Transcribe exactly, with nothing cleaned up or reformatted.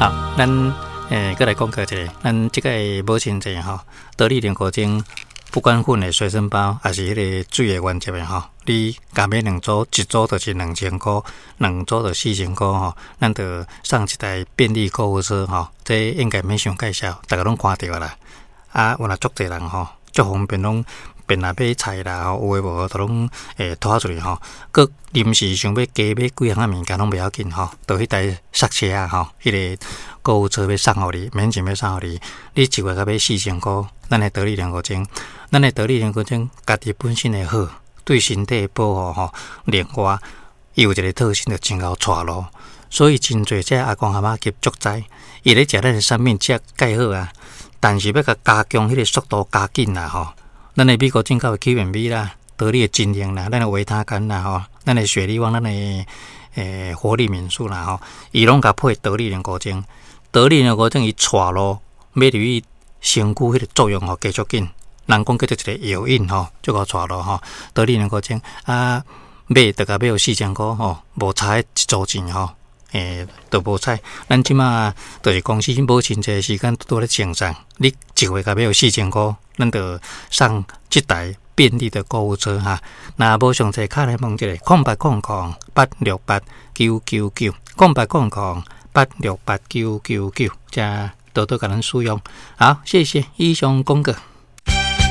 好，咱欸，閣來講過一下，咱這個母親節吼，得力龍骨精，不管粉的隨身包，抑是彼个水的原則的吼，你共買兩組，一組就是兩千箍，兩組就四千箍吼，咱就送一台便利購物車吼，這應該免傷介紹，逐家攏看著啦。啊，有若足濟人吼，足方便攏便來買菜啦吼，有的無的都攏會拖出去吼。閣臨時想欲加買幾項仔物件攏袂要緊吼，就彼台剎車仔吼，彼个購物車欲送予你，免錢欲送予你，你一月共買四千箍，咱的得力龍骨精，咱的得力龍骨精家己本身的好，對身體的保護吼。另外，伊有一個特性，就真𠢕帶路，所以真濟這阿公阿嬤級足知，伊咧食咱的產品食蓋好啊，但是欲共加強彼个速度加緊啦吼。咱的美國進口的 Q and B 啦，得力的精靈啦，咱的維他乾啦吼，咱的雪利旺，咱的欸活力敏素啦吼，伊攏共配得力龍骨精，得力龍骨精伊帶路欲入去身軀彼个作用吼加足緊，人講叫做一個藥引吼，這個帶路吼，得力龍骨精啊，買就共買予四千箍吼，無差一組錢吼。欸，都無彩。咱這馬就是公司母親節時間拄咧贈送，你一月共買予四千箍，咱就送這台便利的購物車哈。若無詳細，敲來問一下，空八空空八六八九九九，空八空空八六八九九九，遮多多共咱使用。好，謝謝，以上廣告。